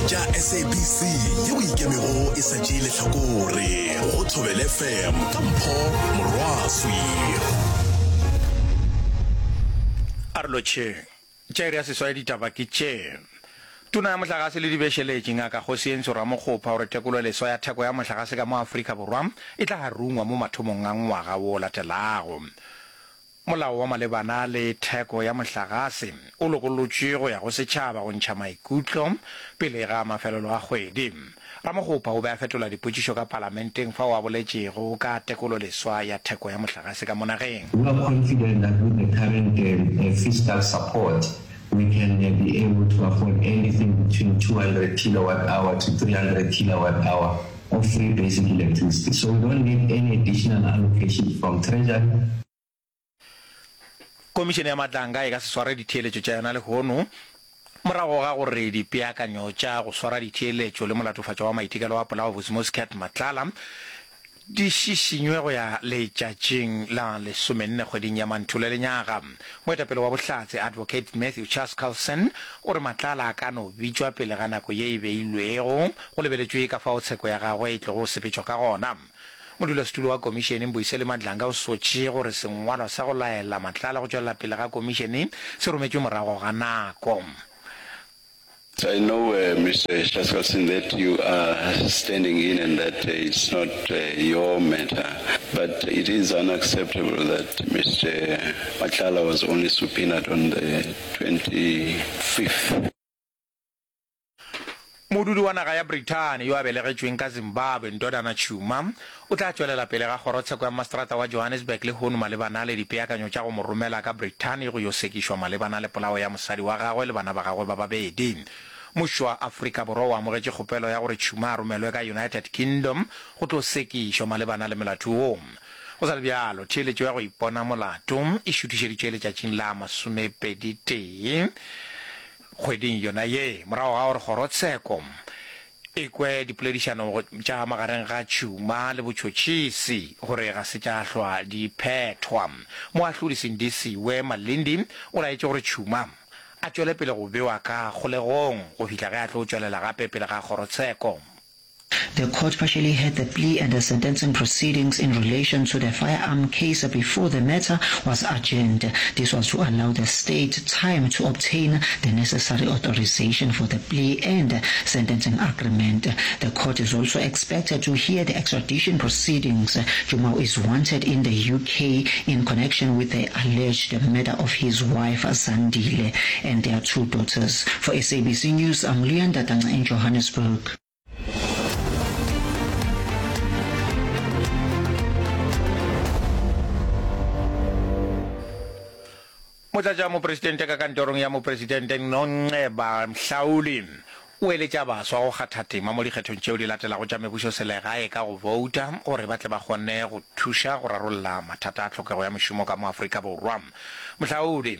tša SABC yeo e ikemego e sa tšee lehlakore go Thobela FM ka Mpho Morwaswi. A re lotšheng. Tša iri ya seswai ditaba ke tše. Tona ya Mohlagase le Dibešeletši, Ngaka Kgosientsho Ramokgopa o re tekololeswa ya theko ya mohlagase ka mo Afrika Borwa e tla rungwa mo mathomong a ngwaga wo o latelago. Molao wa malebana le theko ya mohlagase o lokollotšwe go ya go setšhaba go ntšha maikutlo pele ga mafelelo a kgwedi. Ramokgopa o be a fetola dipotšišo ka palamenteng fao a boletšego ka tekololeswa ya theko ya mohlagase ka mo nageng. We are confident that with the current fiscal support we can be able to afford anything between 200 kilowatt hour to 300 kilowatt hour of free basic electricity. So we don't need any additional allocation from Treasury. Komišene ya Matlanga e ka se sware ditheeletšo tša yona lehono morago ga gore dipeakanyo tša go swara ditheeletšo le molatofatšwa wa maitekelo a polao Vusimuzi Cat Matlala di šišinywe go ya letšatšing la lesomenne kgweding ya Manthole lenyaga. Moetapele wa bohlatse Advocate Matthew Chaskalson o re Matlala a ka no bitšwa pele ga nako ye e beilwego go lebeletšwe ka fao tsheko ya gagwe e tlogo sepetšwa ka gona. Modulasetulo wa komišene Mbuyiseli Madlanga o sotše gore sengwalwa sa go laela Matlala go tšwelela pele ga komišene se rometšwe morago ga nako. I know, Mister Chaskalson, that you are standing in and that it's not your matter, but it is unacceptable that Mister Matlala was only subpoenaed on the 25th. Modudi wa naga ya Brithani yo a belegetšweng ka Zimbabwe, Ndodana Tshuma, o tla tšwelela pele ga kgorotsheko ya maseterata wa Johannesburg lehono malebana le dipeakanyo tša go mo romela ka Brithani go yo sekišwa malebana le polao ya mosadi wa gagwe le bana ba gagwe ba babedi. Mmušo wa Afrika Borwa o amogetše kgopelo ya gore Tshuma a romelwe ka United Kingdom go tlo sekišwa malebana le molato wo. Go sa le bjalo, theeletšo ya go ipona molato e šuthišeditšwe letšatšing la masomepeditee. Kgweding yona ye, morago ga gore kgorotsheko e kwe dipoledišano tša magareng ga Tšhuma le botšhotšhisi gore ga se tša hlwa di phethwa, moahlodi Sindisiwe Malindi o laetše gore Tšhuma a tšwele pele go bewa ka kgolegong go fihla ge a tlo tšwelela gape pele ga kgorotsheko. The court partially heard the plea and the sentencing proceedings in relation to the firearm case before the matter was adjourned. This was to allow the state time to obtain the necessary authorization for the plea and sentencing agreement. The court is also expected to hear the extradition proceedings. Jumao is wanted in the UK in connection with the alleged murder of his wife Zandile and their two daughters. For SABC News, I'm Luyanda Tanga in Johannesburg. Motlatšamopresidente ka kantorong ya mopresidente Nonceba Mhlauli o eletša baswa go kgatha tema mo dikgethong tšeo di latelago tša mebušoselegae ka go bouta gore ba tle ba kgone go thuša go rarolla mathata a tlhokego ya mešomo ka mo Afrika Borwa. Mohlaodi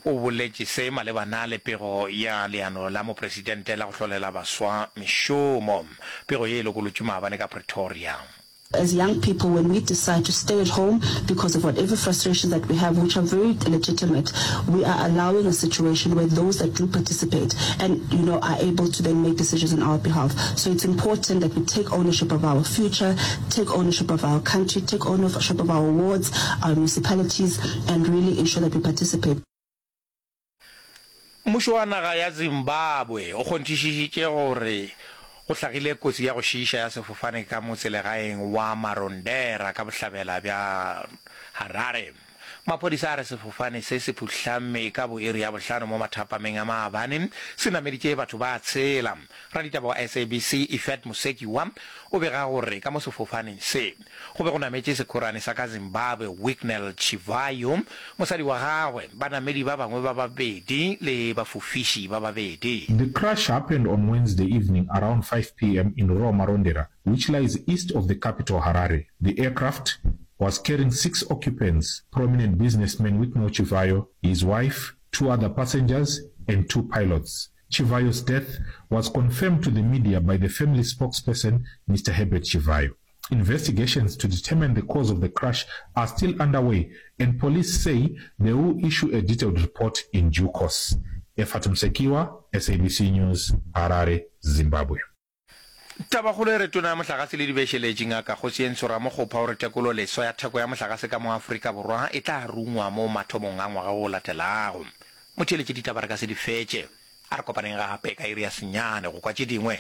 o boletše se malebana le pego ya leano la mopresidente la go hlolela baswa mešomo. Pego ye e lokolotšwe maabane ka Pretoria. As young people when we decide to stay at home because of whatever frustrations that we have which are very legitimate, we are allowing a situation where those that do participate and you know are able to then make decisions on our behalf. So it's important that we take ownership of our future, take ownership of our country, take ownership of our wards, our municipalities and really ensure that we participate. Mmušo wa naga ya Zimbabwe o kgonthišišitše gore go hlagile kotsi ya go šiiša ya sefofane ka motselegaeng wa Marondera ka bohlabela bja Harare. Maphodisa a re sefofane se se phuhlame ka bo iri ya bohlano mo mathapameng a maabane se nameditše batho ba tshela. Raditaba wa SABC Ifat Musekiwa o bega gore ka mo sefofaneng se Go be go nametše sekhorane sa ka Zimbabwe Wicknell Chivayo, mosadi wa gagwe, banamedi ba bangwe ba babedi le bafofiši ba babedi. The crash happened on Wednesday evening around 5 pm in rural Marondera, which lies east of the capital Harare. The aircraft was carrying six occupants, prominent businessman Wicknell Chivayo, his wife, two other passengers and two pilots. Chivayo's death was confirmed to the media by the family spokesperson, Mr Herbert Chivayo. Investigations to determine the cause of the crash are still underway and police say they will issue a detailed report in due course. Ephat Msekiwa, SABC News, Harare, Zimbabwe. Tabakgolo e re Tona ya Mohlagase le Dibešeletši, Ngaka Kgosientsho Ramokgopa o re tekolo leswa ya theko ya mohlagase ka mo Afrika Borwa e tla rungwa mo mathomong a ngwaga o latelago. Motheeletši ditaba re ka se di fetše. A re kopaneng gape ka iri ya senyane go kwa tše dingwe.